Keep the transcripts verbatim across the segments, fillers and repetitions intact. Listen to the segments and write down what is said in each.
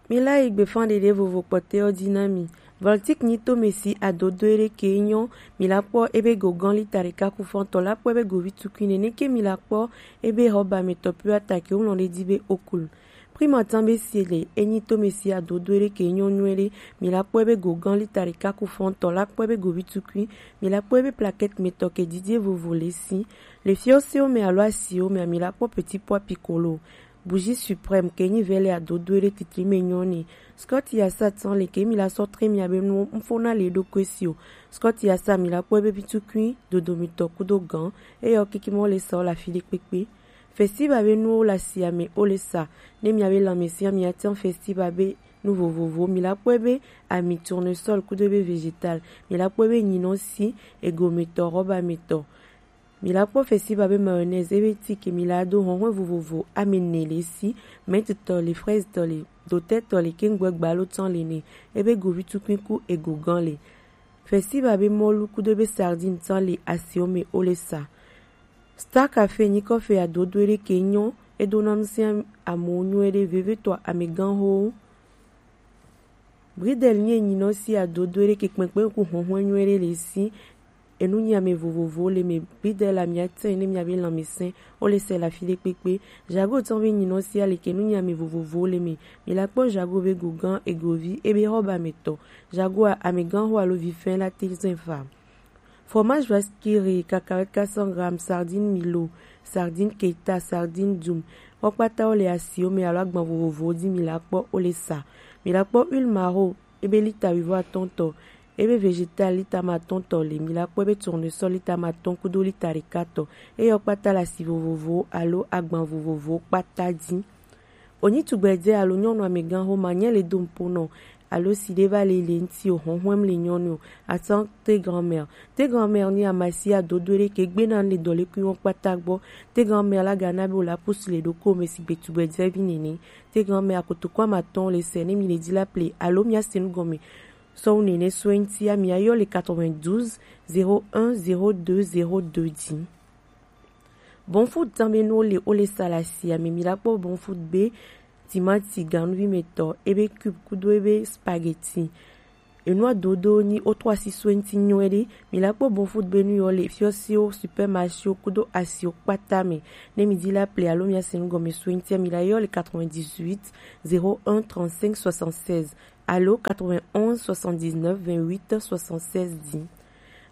Mi la yi gbefanɖeɖe vovo kpɔtɛwo ji na mi. Voltic nyi to mi si adodo eɖe ke nyɔ, mi la kpɔ ebe go gan lita ɖeka ku fɔntɔ la kpɔ ebe go vi tukui nene ke mi la kpɔ ebe hɔba mi tɔ pio ata ke wulɔ ɖe ji be okul. Prima tan be si le enyi to mi si adodo eɖe ke nyɔ nyuie ɖe, mi la kpɔ ebe go gan lita ɖeka ku fɔntɔ la kpɔ ebe go vi tukui, mi la kpɔ ebe plaquette mi tɔ ke jije vovo le si. Le fiɔ siwo mi alo asiwo mi, mi la kpɔ petit pois piccolo. Bougie suprême ke nyi vɛlɛ adodo eɖe titli me nyɔ ni. Scott yasa tan le ke mi la sɔ tre mi abe nu mfo na le ɖo kwe si o. Scott yasa mi la kpɔ ebe bitukui dodo mi tɔ kudo gan. Eyɔ kiki mɔ le sa o la fi ɖe kpekpe. Festival be nuwo la si ame o le sa. Ne mi abe lanmɛsia mi atan festival be nu vovovo mi la kpɔ ebe ami tournesol kudo ebe végétal. Mi la kpɔ ebe nyinɔ si ego mi tɔ, rɔba mi tɔ. Mi la kpɔ festival be mayonnaise ebe ti ke mi la do hɔnhɔn vovovo ame ne le si, menthe tɔ le, fraise tɔ le, dotɛ tɔ le, kengbe gbalo tan le ne, ebe govi tukui ku ego gan le. Festival be mɔlu kudo ebe sardine tan le asiwo me o le sa. Star Café nyi kɔfe adodo eɖe ke nyɔ, edo na nu si amewo nyɔ eɖe veve tɔ amegan ho. Bridel nyi enyinɔ si adodo eɖe ke kpɛnkpɛn ku hɔnhɔn nyɔ eɖe le si. Enu nyi ame vovovowo le me. Bridel la mi atɛn ne mi abe lanmɛsɛn o le sɛ la fi ɖe kpekpe. Jago tɔn be nyinɔ si ale ke enu nyi ame vovovowo le me. Mi la kpɔ jago be gogan egovi ebe hɔba me tɔ. Jago a amegan ho alo vi fɛn la te zɛn fa. Fromage Vaskiri, cacahuète quatre cents grammes, sardine Milo, sardine Keta, sardine Dum. Wo kpata wo le asiwo me alo agban vovovowo ji mi la kpɔ o le sa. Mi la kpɔ huile maro, ebe lita wivo atɔn tɔ, ebe végétal lita ma atɔn tɔ le, mi la kpɔ ebe tournesol lita ma atɔn kudo lita ɖeka tɔ. Eyɔ kpata le asi vovovowo alo agban vovovowo kpata ji. Onyi tugbɛjɛ alo nyɔnu amegan ho ma nyɛ le do mpo nɔ alo si ɖe va le le ŋti o, hɔnhɔn le nyɔnu o. Atan te grand-mère. Te grand-mère ni amasi adodo ɖe ke gbe na le dɔlekui wo kpata gbɔ. Te grand-mère la ga na be o la pusu le ɖoko me si gbe tugbɛjɛ vi nene. Te grand-mère akotoko amatɔn le sɛ ne mi le ji la ple alo mi ase nu gɔme. Sɔwu nene so ŋti ami ayɔ le quatre-vingt-douze, zéro un, zéro deux, zéro deux ji. Bon food tan be nu wo le o le sa la si ame mi la kpɔ bon food be timati ganuvi me tɔ ebe cube kudo ebe spaghetti. Enu adodo ni o to asi so ŋti nyɔ eɖe mi la kpɔ bon food be nu yɔ le fiɔsiwo supermarché wo kudo asiwo kpata me. Ne mi di la ple alo mi ase nu gɔme so ŋti mi la yɔ le quatre-vingt-dix-huit, zéro un, trente-cinq, soixante-seize alo quatre-vingt-onze, soixante-dix-neuf, vingt-huit, soixante-seize di.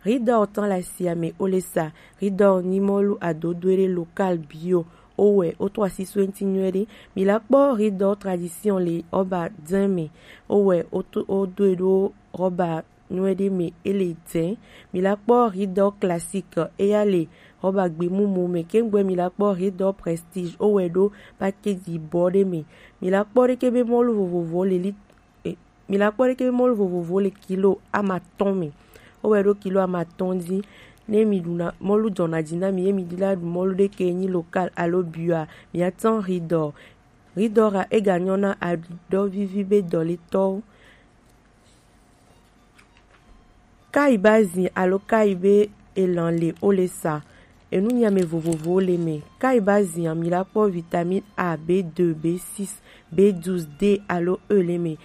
Ridor tan la si ame o le sa. Ridor ni mɔlu adodo eɖe local bio. O wɛ o to asi so ŋti nyɔ eɖe. Mi la kpɔ ridor tradition le rɔba dɛn me. O wɛ o to o do e ɖo rɔba nyɔ eɖe me e le dɛn. Mi la kpɔ ridor classique eya le rɔba gbemumu me. Kengbe mi la kpɔ ridor prestige o wɛ ɖo package yibɔ ɖe me. Mi la kpɔ ɖe ke be mɔlu vovovo le li e, mi la kpɔ ɖe ke be mɔlu vovovo le kilo amatɔn me. O wɛ ɖo kilo amatɔn di. Ne mi ɖuna mɔlu jɔna ji na mi ye mi di la ɖu mɔlu ɖe ke nyi local alo bio a, mi atan ridor. Ridor a e ga nyɔ na aɖɔ vivi be dɔletɔwo. Kai ba zin alo kai be elan le o le sa. Enu nyi ame vovovowo le me. Kai ba zin mi la kpɔ vitamine A, B deux, B six, B douze, D alo E le me.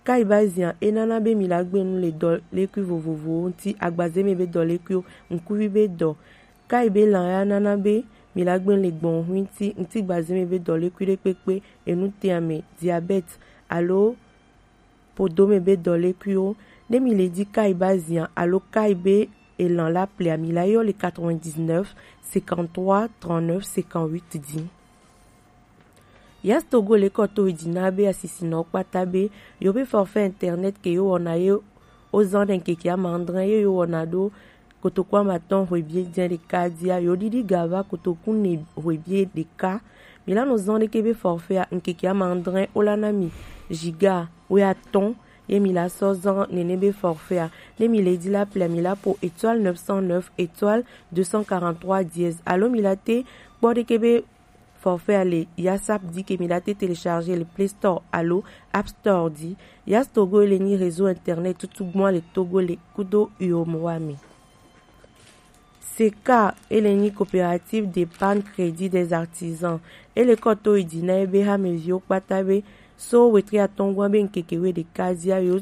Kai ba zin e nana be mi la gbe nu le dɔlekui vovovowo ŋti, agbaze me be dɔlekuiwo, ŋkuvi be dɔ. Kai be lan ya nana be mi la gbe nu le gbɔn ŋui ŋti, ŋtigbaze me be dɔlekui ɖe kpekpe, enu te ame, diabète alo podome be dɔlekuiwo. Ne mi le di kai ba zin alo kai be elan la ple a mi la yɔ le quatre-vingt-dix-neuf, cinquante-trois, trente-neuf, cinquante-huit di. Yas Togo le kɔ to dzi na be asisinɔ kpata be yo be forfait internet ke yo wɔna ye o zan ɖe ŋkeke amadre ye yo wɔna ɖo kotoku amatɔn hwebie dze ɖeka dia yo ɖiɖi ga va kotoku ne hwebie ɖeka. Mi la nɔ zɔn ɖeke be forfait a ŋkeke amadre o la na mi giga woe atɔn ye mi la sɔ zɔn nene be forfait a. Ne mi le di la ple mi la po étoile neuf cent neuf étoile deux cent quarante-trois dièse alo mi la te kpɔ ɖeke be forfait a le yasap di ke mi la te télécharger le Play Store alo App Store di. Yas Togo le nyi réseau internet tutu gbɔn le Togo le kudo uyo mo wa mi. Seka, ele nyi Coopérative d'épargne crédit des artisans. Ele kɔ to yi ji na ebe hameviwo kpata be so wetri atɔngua be ŋkeke we ɖeka zia yo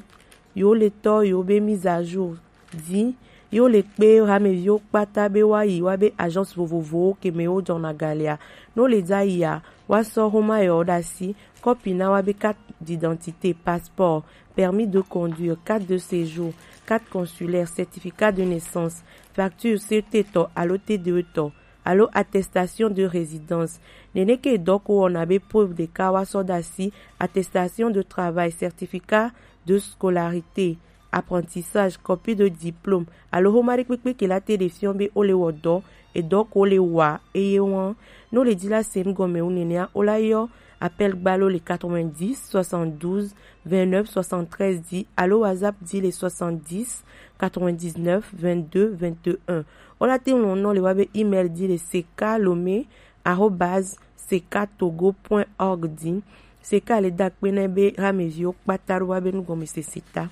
yo le tɔ yo be mise à jour di yo le kpe hameviwo kpata be wa yi wa be agence vovovowo ke me wo jɔna galia. No le dza yia wa sɔ homa yɔ ɖasi kɔpi na wa be carte d'identité, passeport, permis de conduire, carte de séjour, carte consulaire, certificat de naissance, facture C T tɔ alo T D E tɔ, alo attestation de résidence. Nene ke dɔ ko wɔna be preuve ɖeka wa sɔ ɖasi, attestation de travail, certificat de scolarité, apprentissage, copie de diplôme, alo homa ɖe kpekpe ke la te ɖe fiɔ be o le wɔ dɔ, edɔ ko le wa eye wɔn. No le ji la se nu gɔme wu nenea, o la yɔ appel gbalo le quatre-vingt-dix soixante-douze vingt-neuf soixante-treize di alo WhatsApp di le soixante-dix quatre-vingt-dix-neuf vingt-deux vingt-et-un. O la te ŋlɔ nɔ le wa be email di le seka lome arobase seka togo point org di. Seka le da kpe na be hameviwo kpata ɖo wa be nugɔmesese ta.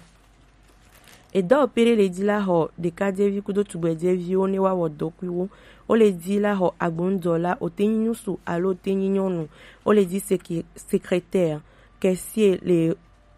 Edɔ pere le di la xɔ ɖekadzevi kudo tugbɛdzeviwo ne wa wɔ dɔkuiwo. O le di la xɔ agbonudɔla, o te nyi nyusu alo o te nyi nyɔnu. O le di seke-, secrétaire, caissier le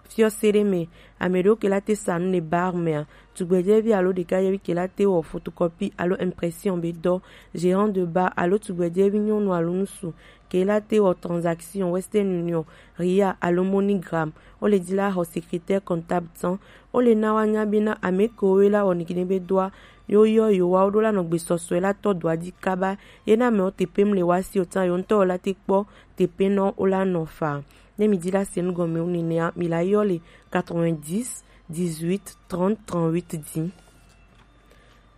fiɔse ɖe me, ame ɖewo ke la te sa nu le bar mea, tugbɛdzevi alo ɖekadzevi ke la te wɔ photocopie alo impression be dɔ, gérant de bar alo tugbɛdzevi nyɔnu alo ŋsu ke la te wɔ transaction Western Union, Ria alo MoneyGram. O le di la xɔ secrétaire comptable tɔn. O le na wa nya be na ame kewo la wɔ nigine be dɔa yo yɔ yo wa wo ɖo la nɔ gbesɔsɔe la tɔ dɔa di kaba. Ye na mɛ wo te pem le wa si o tan yo ŋutɔ wo la te kpɔ te pe nɔ wo la nɔ fa. Ne mi di la se nu gɔme wu nenea, mi la yɔ le quatre-vingt-dix dix-huit trente trente-huit di.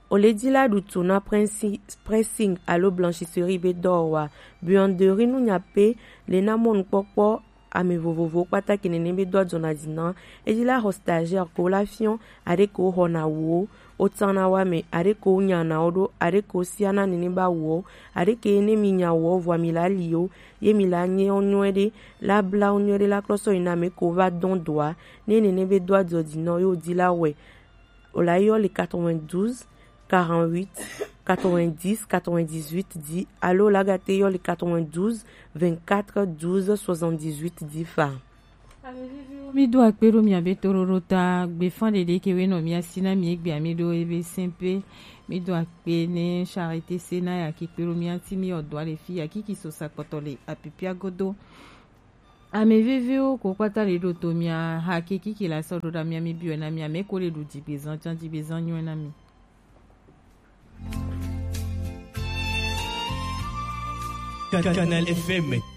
O le di la ɖu tu na pressing, pressing alo blanchisserie be dɔ wa. Buanderie nu nya pe le na mɔnukpɔkpɔ ame vovovowo kpata ke nene be dɔ jɔna di na. E di la xɔ stagiaire ko la fiɔ, are ko xɔna wo, o tana wa me, are ko nyana wo ɖo, are ko siana nene ba wo, are ke ne mi nya wo vɔ mi la li wo, ye mi la nye wo nyuie ɖe, la bla wo nyuie ɖe la klɔ sɔ yi na me ko va dɔn dɔa, ne nene be dɔ jɔ di nɔ yo di la wɛ. O la yɔ le quatre-vingt-douze quarante-huit quatre-vingt-dix quatre-vingt-dix-huit di alo la ga te yɔ le quatre-vingt-douze vingt-quatre douze soixante-dix-huit di fa. Mi do akpe ɖo mia be toɖoɖo ta gbefa ɖeɖe ke we nɔ mia si na mi egbe ami ɖo ebe sɛnpe. Mi do akpe ne Charité se na ya ki kpe ɖo mia ti mi ɔdɔ ale fi ya ki ki so sa kpɔtɔ le apipia godo. Ame veviwo ko kpata le ɖo to mia ha ke kiki la sɔ ɖo ɖa mia mi biɔ na mia me ko le ɖu dzigbezan jan dzigbezan nyɔ na mi. Canal F M.